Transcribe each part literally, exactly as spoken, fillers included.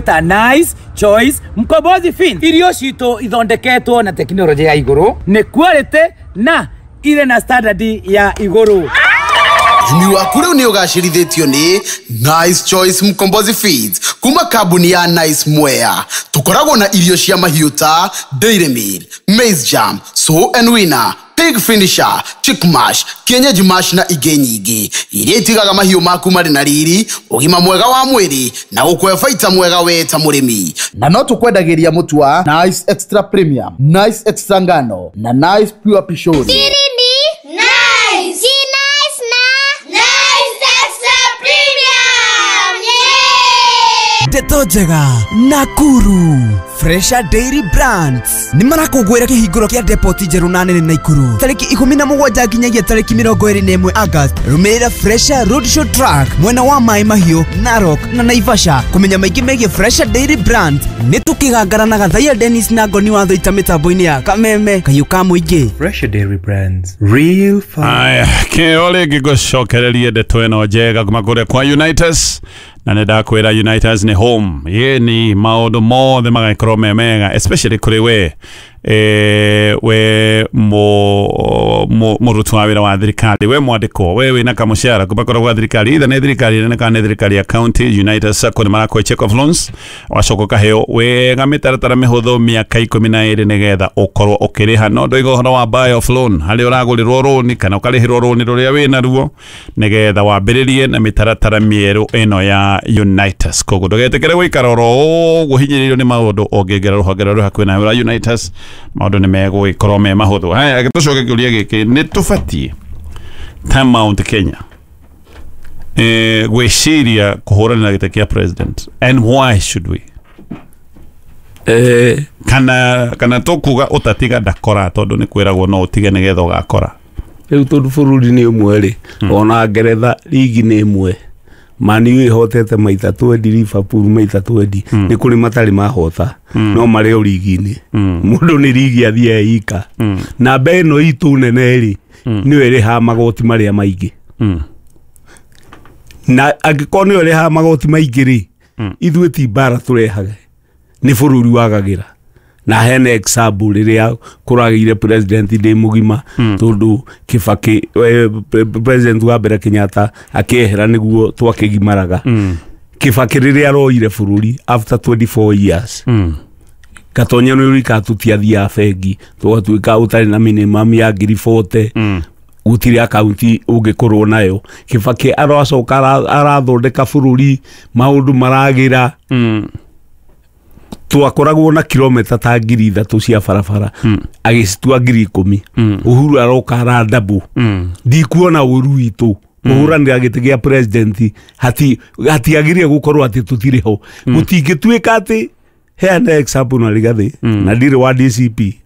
Ta Nice Choice Mkombozi Feeds, irio citũ ithondeketwo na tekinoronjĩ ya igũrũ, nĩ quality na irĩ na standard ya igũrũ. Ũrĩmi waku rĩu nĩ ũgacĩrithĩtio nĩ Nice Choice Mkombozi Feeds kuma kambuni ya Nice Mwea. Tũkoragwo na irio cia mahiũ ta Dairy Meal, Maize Jam, Sow and Winner, Pig Finisher, Chick Mash, Kienyeji Mash na ingĩ nyingĩ iria itigaga mahiũ maku marĩ na riri, ũgima mwega wa mwĩrĩ na gũkũhe baita mwega we ta mũrĩmi. Na no tũkwendagĩria mũtu wa Nice Extra Premium, Nice Extra Ngano na Nice Pure Pishori. Siri ni Nice. Si Nice na Nice Extra Premium. Yeah! Ndeto njega Nakuru Fresha Dairy Brands nĩ marakũngũĩra kĩhingũro kĩa depot njerũ na nene Naikuru tarĩki ikũmi na mũgwanja nginyagia tarĩki mĩrongo ĩrĩ na ĩmwe August. Rũmĩrĩra Fresha Roadshow Truck mwena wa Maĩ Mahiũ, Narok na Naivasha kũmenya maingĩ megiĩ Fresha Dairy Brands. Nĩ tũkĩgangara na Gathaia Dennis na Ngoni wa Thũita mĩtambo-inĩ ya Kameme Kayũ ka Mũingĩ. Fresha Dairy Brands, real fun. Aya, kĩo rĩngĩ ngũcokererie ndeto ĩno njega kuma kũrĩa kwa Unitas, na nĩ ndakwĩra Unitas nĩ home yeni maũndũ mothe magagĩkorwo me mega, especially kũrĩ we eh, we mũruti wa wĩra wa thirikari, we mwandĩkwo, we wĩna kamũcara kuma kũrĩa gwa thirikari, either nĩ thirikari nene kana nĩ thirikari ya county. Unitas Sacco nĩ marakũhe check of loans, wacoka ũkaheo wega mĩtaratara mĩhũthũ mĩaka ikũmi na ĩrĩ nĩgetha ũkorwo ũkĩrĩha. No ndoiga ũhoro wa buy off loan, harĩa ũragũrĩrwo rũni kana ũkarĩhĩrwo rũni rũrĩa wĩnaruo nĩgetha wambĩrĩrie na mĩtaratara mĩerũ ĩno ya Unitas. Koguo ndũgetĩkĩre gũikara oro ũguo hinyĩrĩirio nĩ maũndũ, ũngĩingĩra rũhonge rũrĩa rwĩ hakuhĩ nawe rwa Unitas maũndũ nĩ megũgĩkorwo me mahũthũ. Haya, tũcoke kĩũria gĩkĩ, nĩ tũbatiĩ ta Mount Kenya eh, gwĩciria kũhũranĩra gĩtĩ kĩa president, and why should we? Eh, kana kana tũkuga ũtatiga ndakora, tondũ nĩ kwĩragwo no ũtige nĩgetha ũgakora. Rĩu tondũ bũrũri nĩ ũmwe rĩ, ona Ngeretha rigi nĩ ĩmwe, Man U ĩhotete maita twendi, Liverpool maita twendi, nĩ kũrĩ matarĩ mahota no marĩ o rigi-inĩ. Mũndũ nĩ rigi athiaga ika. Namba ĩno itũ nene rĩ, nĩyo ĩrĩhaga magoti marĩa maingĩ, na angĩkorwo nĩyo ĩrĩhaga magoti maingĩ rĩ, ithuĩ ti mbara tũrehaga, nĩ bũrũri wagagĩra. Na hena example rĩrĩa kũragĩire president ndĩ mũgima, tondũ Kibaki eh, president wa mbere Kenyatta akĩehera nĩguo twakĩgimaraga. Kibaki rĩrĩa aroire bũrũri after twenty-four years, Gatonya nĩ ũrika tũtiathiaga bengi, tũgatuĩka ũtarĩ na minimum ya ngiri forty gũtirĩ akaunti ũngĩkorwo nayo. Kibaki aracoka arathondeka bũrũri, maũndũ maragĩra. Twakoragwo na kilomita ta ngiri ithatũ cia barabara, agĩcitua ngiri ikũmi. Uhuru aroka arandabu. Ndikuona ũru witũ kũhũranĩra gĩtĩ gĩa president, hati hatiagĩrĩire gũkorwo atĩ tũtirĩ ho. Gũtingĩtuĩka atĩ heana example na Rigathi, na ndirĩ wa D C P,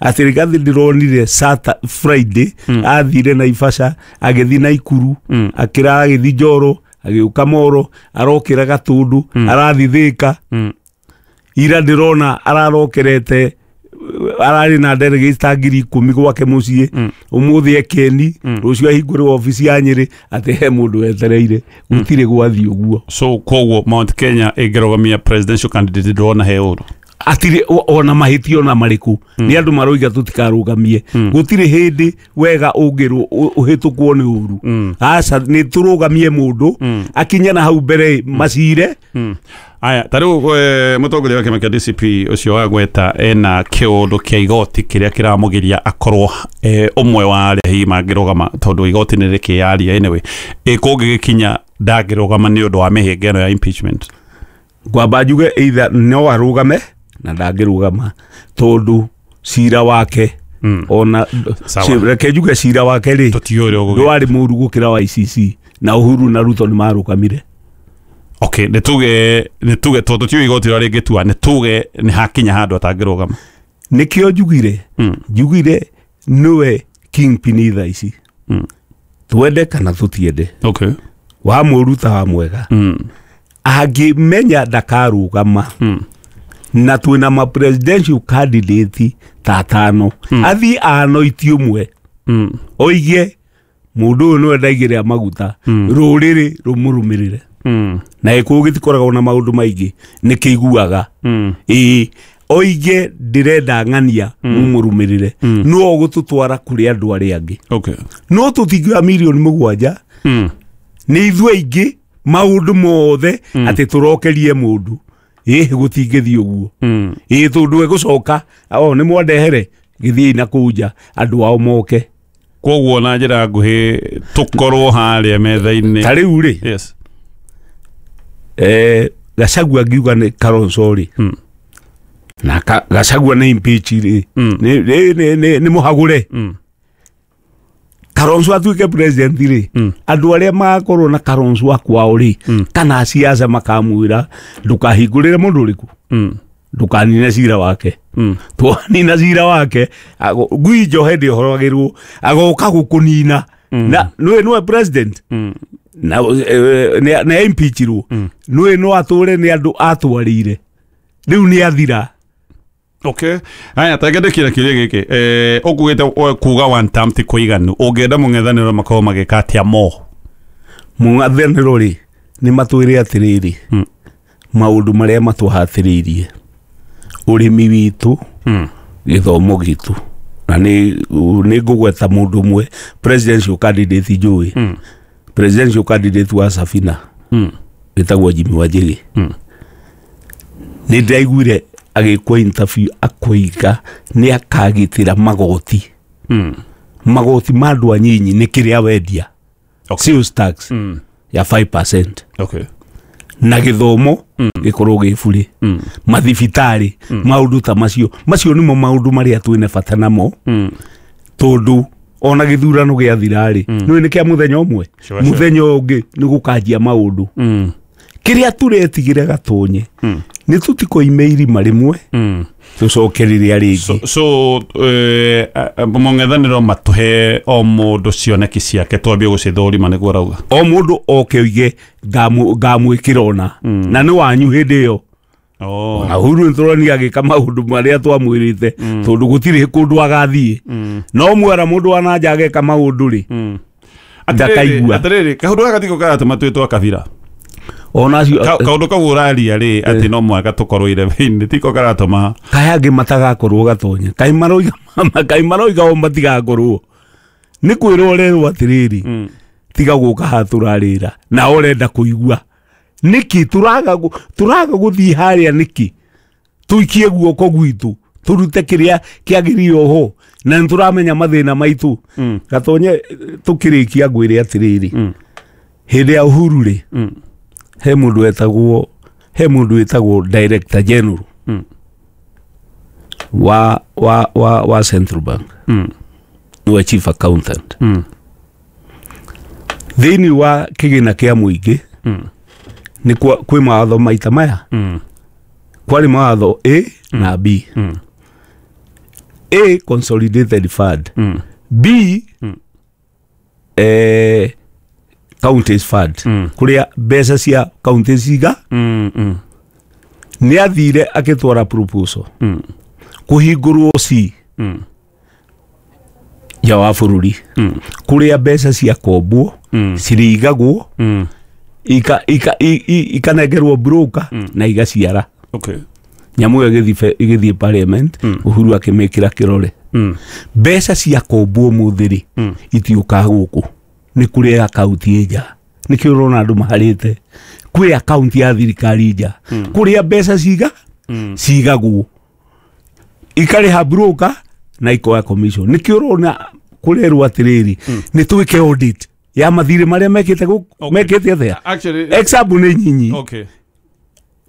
atĩ Rigathi ndĩronire Sata Friday athire Naivasha, agĩthiĩ Naikuru, akĩrara agĩthiĩ Njoro, agĩũka Moro, arokĩra Gatũndũ, arathiĩ Thĩka. Ira ndĩrona ararokerete, ararĩ na delegates ta ngiri ikũmi gwake mũciĩ, ũmũthĩ ekeni, rũciũ ahingũrĩrwo obici ya Nyĩrĩ atĩ he mũndũ wetereire. Gũtirĩ gwathiĩ ũguo. So koguo Mount Kenya ĩngĩrũgamia presidential candidate ndĩrona he ũru atirĩ ona mahĩtia ona marĩkũ, nĩ andũ maroiga tũtikarũgamie. Gũtirĩ hĩndĩ wega ũngĩrwo ũhĩtũkwo nĩ ũru. Aca, nĩ tũrũgamie mũndũ akinye na hau mbere macire. Aya, ta rĩu mũtongoria wa kĩama kĩa D C P ũcio wagweta ena kĩũndũ kĩa igoti kĩrĩa kĩramũgiria akorwo ũmwe wa arĩa hihi mangĩrũgama, tondũ igoti nĩ rĩkĩyaria anyway, ĩ kũngĩgĩkinya ndangĩrũgama nĩ ũndũ wa mĩhĩnga ĩno ya impeachment. Ngwamba njuge either no arũgame na ndangĩrũgama tondũ cira wake ona reke njuge cira wake rĩ ndwarĩ mũru gũkĩra wa I C C, na Uhuru na Ruto nĩ marũgamire. Okay, nĩ tuge nĩ tuge tondũ tiũĩ igoti rĩrĩa rĩngĩtua, nĩ tuge nĩ hakinya handũ atangĩrũgama. Nĩkĩo njugire njugire nĩwe kingpin thaa ici, twende kana tũtiende. Okay. Wa mũru ta wa mwega, angĩmenya ndakarũgama na twĩna ma presidential candidate ta atano, athiĩ anoiti ũmwe oige mũndũ ũyũ nĩwe ndaigĩrĩra maguta, rũrĩrĩ rũmũrũmĩrĩre. Mm. Na gĩkũyũ gĩtikoragwo na maũndũ maingĩ, nĩ kĩiguaga. Mm. Ĩĩ, oige ndĩrenda ng'ania mumũrũmĩrĩre, no ũgũtũtwara kũrĩ andũ arĩa angĩ. Okay. No tũtingĩoya mirioni mũgwanja Mm. nĩ ithuĩ aingĩ maũndũ mothe atĩ tũrokerie mũndũ. Ĩĩ, gũtingĩthiĩ ũguo. Mm. Ĩĩ, tondũ egũcoka o nĩ mwandehere gĩthiĩ na kũu nja andũ ao moke. Koguo na njĩra nguhĩ tũkorwo harĩa metha-inĩ. Ta rĩu rĩ, Yes. eh, Gachagua ngiuga nĩ Kalonzo rĩ, Mm. na ka, Gachagua nĩ impeach rĩ, Mm. nĩ nĩ nĩ nĩ nĩ mũhagũre. Mm. Kalonzo atuĩke president rĩ, Mm. andũ arĩa magakorwo na Kalonzo akwao rĩ, Mm. kana siasa makamwĩra ndũkahingũrĩre mũndũ ũrĩkũ, Mm. ndũkanine cira wake. Mm. Twanina cira wake, ago- ngui njohe ndĩhoragĩrwo, agoka gũkũnina. Na nĩwe nĩwe president. Mm. Na eh, nĩ nĩ impeachirwo. Nĩwe no atũre nĩ andũ atwarĩire. Rĩu nĩ athira. Okay. Haya, ta ngende kira kĩũria gĩkĩ. Eh, ũkugĩte kuga one term ti kũiganu. Ũngĩenda mũng'ethanĩro makorwo magĩka atĩa mo? Mũng'ethanĩro rĩ, nĩ matwĩre atĩrĩrĩ, Mm. maũndũ marĩa matũhatĩrĩirie, ũrĩmi witũ, Mm. gĩthomo gitũ, na nĩ nĩ ngũgweta mũndũ ũmwe presidential candidate njũĩ, Mm. presidential candidate wa Safina, Mm. wĩtagwo Jimmy Wanjigi. Mm. Nĩ ndĩraiguire agĩkwo interview akoiga nĩ akagitĩra magoti. Mm. Magoti ma andũ anyinyi nĩ kĩrĩa wendia. Okay. Sales tax Mm. ya five percent. Okay. Na gĩthomo gĩkorwo gĩ bure. Mm. Mathibitarĩ, maũndũ ta macio. Macio nĩmo maũndũ marĩa twĩna bata namo. Mm. Tondũ ona gĩthurano gĩathira rĩ, nĩũĩ nĩ kĩa mũthenya ũmwe. Sure, sure. Mũthenya ũngĩ nĩ gũkanjia maũndũ. Mm. Kĩrĩa tũretigĩra gatonye, Mm. nĩ tũtikoime irima rĩmwe, Mm. tũcoke rĩrĩa rĩngĩ. So, so eh, mũng'ethanĩro matũhe o mũndũ cioneki ciake twambie gũcithũrima nĩguo arauga. O mũndũ oke oige ngamwĩkĩra ona, na nĩ wanyu hĩndĩ ĩyo. Oh. Na Uhuru nĩtũronire agĩka maũndũ marĩa twamwĩrĩte, tondũ gũtirĩ kũndũ agathiĩ. No mwera mũndũ wa na nja ageka maũndũ rĩ, Mm. ndakaigua. Atĩrĩrĩ, kaũndũ gaka tiko karatũma twĩtwo kabira. Ona acio Ka- kaũndũ kau ũraria rĩ, atĩ no mũhaka tũkorwo irebe-inĩ, tiko karatũma. Kaĩ angĩ matagakorwo gatonya, kaĩ maroiga, kaĩ maroiga o matigakorwo. Nĩ kwĩrwo ũrerwo atĩrĩrĩ, tiga gũka haha tũrarĩra, na ũrenda kũigua. Nĩkĩ tũraga gũ-, tũraga gũthiĩ harĩa nĩkĩ? Tũikie guoko gwitũ, tũrute kĩrĩa kĩagĩrĩire ho, na nĩ tũramenya mathĩna maitũ. Gatonye, tũkĩrĩkia ngwĩre atĩrĩrĩ, hĩndĩ ya Uhuru rĩ, he mũndũ wetagwo, he mũndũ wĩtagwo Director General Mm. wa, wa, wa, wa Central Bank. Mm. Nĩwe chief accountant. Mm. Thĩinĩ wa kĩgĩna kĩa mũingĩ, Mm. nĩ kwa-, kwĩ mawatho maita maya. Mm. Kwarĩ mawatho A na B. Mm. A, consolidated fund. Mm. B, Mm. eh, counties fund. Mm. Kũrĩa mbeca cia counties ciga, Mm, mm. nĩ athire agĩtwara proposal. Mm. Kũhingũrwo C Mm. nja wa bũrũri. Mm. Kũrĩa mbeca cia kombwo, Mm. cirĩigagwo, Mm. ika, ika, i, i, ikanengerwo broker na igaciara. Okay. Nyamũ ĩyo ĩgĩthiĩ, ĩgĩthiĩ parliament, Uhuru akĩmĩkĩra kĩrore. Mm. Mbeca cia kombwo ũmũthĩ rĩ, Mm. itiũkaga gũkũ. Nĩ kũrĩ akaunti ĩ nja. Nĩkĩo ũrona andũ maharĩte. Kwĩ akaunti ya thirikari nja. Kũrĩa mbeca ciga, cigagwo. Ikarĩha broker na ikoya commission. Nĩkĩo ũrona kũrerwo atĩrĩrĩ, nĩ twĩke audit ya mathirĩ marĩa mekĩte gũkũ, Okay. mekĩte atĩa? Actually, Example nĩ nyinyi. Okay.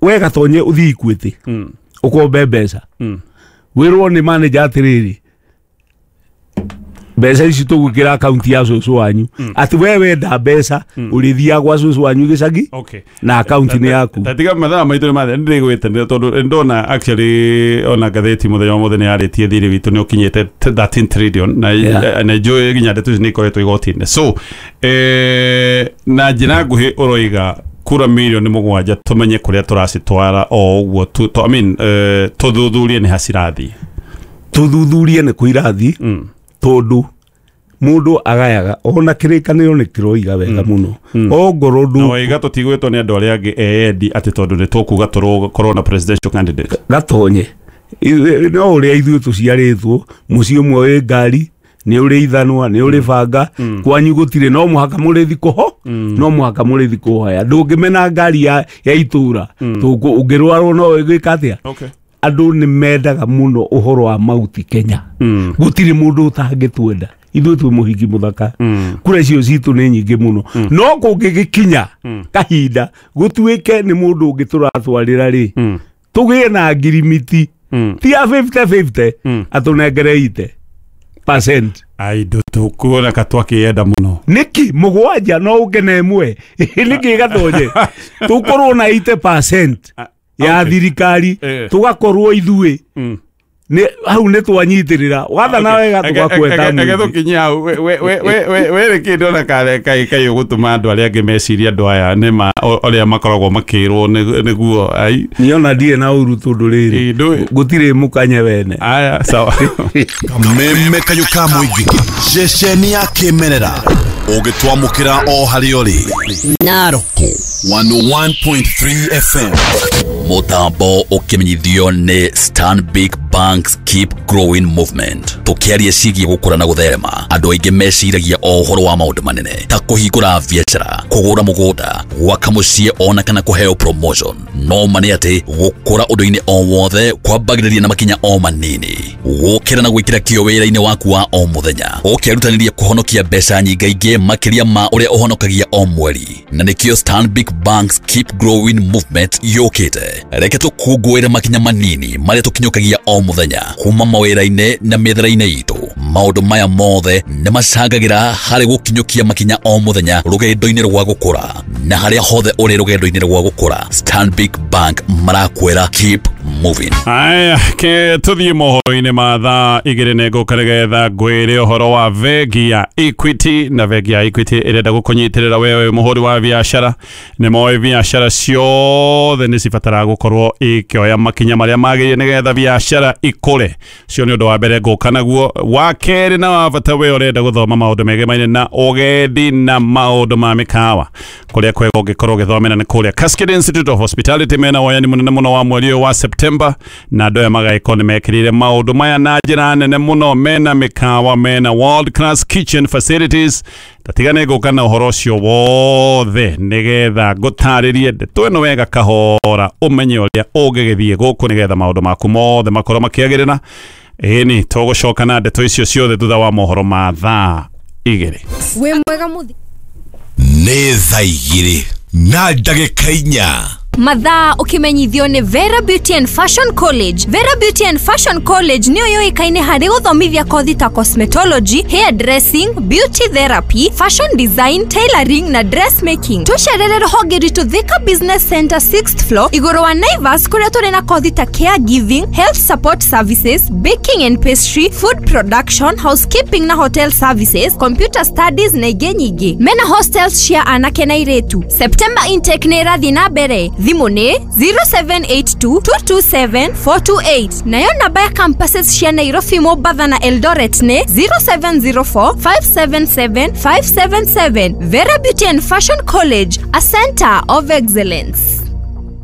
We gatonye ũthiĩ Equity, Mm. ũkombe mbeca. Mm. Wĩrwo nĩ manager atĩrĩrĩ, mbeca ici tũgwĩkĩra akaunti ya cũcũ wanyu. Atĩ we wenda mbeca, ũrĩthiaga gwa cũcũ wanyu gĩcagi, Okay. na akaunti nĩ yaku. Tatiga mathaa maitũ nĩ mathira, nĩndĩgwĩte tondũ ndona actually ona ngathĩti mũthenya wa mũthenya yarĩtie thirĩ witũ nĩ ũkinyĩte thirteen trillion na Yeah. na njũĩ nginya ndeto ici nĩ ikoretwo igoti-inĩ. So eh, na njĩra nguhĩ ũroiga kura mirioni mũgwanja tũmenye kũrĩa tũracitwara o ũguo tu, tu, I mean, eh, tũthuthurie nĩ ha cirathiĩ. Tũthuthurie nĩ kũ irathiĩ, Mm. tondũ Mundu agayaga ona kirikaniro ni kiroiga wega muno ongorwo ndu na waiga tutigwitwo ni andu aria angi eendi ati tondu ni tukuga tukorwo na presidential candidate gatonye no uria ithuĩ tuciarĩtwo mũciĩ ũmwe wĩ ngari nĩ ũrĩ ithanwa nĩ ũrĩ banga kwanyu gũtirĩ no mũhaka mũrĩthi kũho no mũhaka mũrĩthi kũhoya ndũngĩmena ngari ya ya itũra ũngĩrwarwo no ĩgwĩka atĩa. Andũ nĩ mendaga mũno ũhoro wa Mount Kenya gũtirĩ mũndũ ũtangĩtwenda ithuĩ twĩ mũhiki mũthaka kura icio citũ nĩ nyingĩ mũno no kũngĩgĩkinya kahinda gũtuĩke nĩ mũndũ ũngĩ tũratwarĩra rĩ tũgĩe na ngirimiti ti ya fifty fifty atũnengere ite percent ai ndutukuona ka twakĩenda mũno nĩkĩ mũgwanja no ũkene ĩmwe nĩkĩ gatonye tũkorwo na eighty percent ya thirikari tũgakorwo ithuĩ nĩ hau nĩ twanyitĩrĩra wathana wega tũgakweta ege tũkinye hau we we we we we rĩ ndona kare kai kai ũgũtũma andũ arĩa angĩ meciria andũ aya nĩ ma ũrĩa makoragwo makĩrwo nĩguo ai niona ndirĩ na ũru tondũ rĩrĩ gũtirĩ mũkanye wene aya sawa kameme kayũ ka mũingĩ ceceni ya kĩmerera ũngĩtwamũkĩra o harĩa ũrĩ Naroko one oh one point three F M Mutambo ukimenyithio ni Stanbic Bank's Keep Growing Movement. Tukiaria ciĩgiĩ gũkũra na gũtherema, andũ aingĩ meciragia o ũhoro wa maũndũ manene ta kũhingũra biacara, kũgũra mũgũnda, gwaka mũciĩ ona kana kũheo promotion. No ma nĩ atĩ gũkũra ũndũ-inĩ o wothe kwambagĩrĩria na makinya o manini, gũkĩra na gwĩkĩra kĩo wĩra-inĩ waku wa o mũthenya, ũkĩrutanĩria kũhonokia mbeca nyingaingĩ makĩria ma ũrĩa ũhonokagia o mweri. Na nĩkĩo Stanbic Bank's Keep Growing Movement yũkĩte. Reke tũkũngũĩre makinya manini marĩa tũkinyũkagia o mũthenya kuma mawĩra-inĩ na mĩethere-inĩ itũ. Maũndũ maya mothe nĩ macangagĩra harĩ gũkinyũkia makinya o mũthenya rũgendo-inĩ rwa gũkũra, na harĩa hothe ũrĩ rũgendo-inĩ rwa gũkũra, Stanbic Bank marakwĩra keep moving. Aya, ke tuthiĩ mohoro-inĩ ma thaa igĩrĩ nĩ ngũka nĩgetha ngwĩre ũhoro wa bengi ya Equity. Na bengi ya Equity ĩrenda gũkũnyitĩrĩra wewe mũhũri wa biacara. Nĩ moĩ biacara ciothe nĩ cibataraga gũkorwo ikĩoya makinya marĩa magĩrĩire nĩgetha biacara ikũre. Cio nĩ ũndũ wa mbere ngũka naguo. Wa kerĩ na wa bata, we ũrenda gũthoma maũndũ megemaine na ũgendi na maũndũ ma mĩkawa, kũrĩa kwega ũngĩkorwo ũgĩthomera nĩ kũrĩa Cascade Institute of Hospitality. Mena woyani mũnene mũno wa mweri ũyũ wa September, na andũ aya magagĩkorwo nĩ mekĩrĩire maũndũ maya na njĩra nene mũno. Mena mĩkawa, mena world class kitchen facilities. Tatigane ngũka na ũhoro ũcio wothe nĩgetha ngũtarĩrie ndeto ĩno wega kahora, ũmenye ũrĩa ũngĩgĩthiĩ gũkũ nĩgetha maũndũ maku mothe makorwo makĩagĩrĩra. Ĩni tũgũcoka na ndeto icio ciothe thutha wa mohoro ma thaa igĩrĩ. Wĩ mwega mũthi. Nĩ thaa igĩrĩ na ndagĩka inya. Mathaa ukimenyithio ni Vera Beauty and Fashion College. Vera Beauty and Fashion College niyo yoikaine harĩ gũthomithia kothi ta cosmetology, hair dressing, beauty therapy, fashion design, tailoring na dressmaking. Tũcerere rũhonge rwitũ Thika Business Center sixth floor igũrũ wa Naivas, kũrĩa tũrĩ na kothi ta caregiving, health support services, baking and pastry, food production, housekeeping na hotel services, computer studies na ingĩ nyingĩ. Mena hostels cia anake na airĩtu. September intake nĩ ĩrathiĩ na mbere. Thimũ nĩ zero seven eight two, two two seven, four two eight. Nayo namba ya campuses cia Nairobi, Mombasa na Eldoret nĩ zero seven zero four, five seven seven, five seven seven. Vera Beauty and Fashion College, a center of excellence.